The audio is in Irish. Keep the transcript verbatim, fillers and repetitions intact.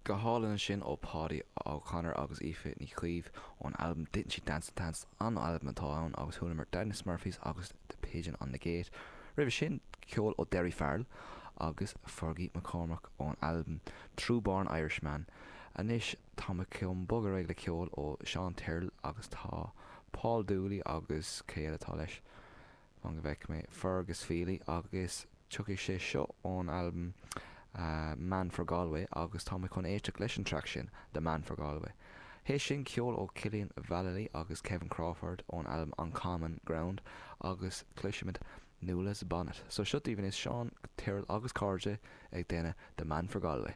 Go hálainn ansin ó Paudie O'Connor agus Aoife Ní Chaoimh ón albam Didn't She Dance the Dance an albam atá ann agus chualamar Denis Murphys agus The Pigeon on the Gate. Roimhe sin ceol ó Derry Farrell agus Fergie McCormack ón albam True Born Irishman. Anois tá mé chun bogadh ar aghaidh le ceol ó Sean Tyrrell agus tá Paul Dooley agus cé eile atá leis an go bhfeicfidh mé Fergus Feely agus tiocfaidh sé seo ón albam uh, Man for Galway agus tá mé chun éisteacht leis an track sin The Man for Galway. Théis sin ceol ó Cillian Vallely agus Kevin Crawford ón albam On Common Ground agus cloisfimid Nuala's Bonnet. So seo daoibh is Sean Tyrrell agus cairde ag déanamh The Man for Galway.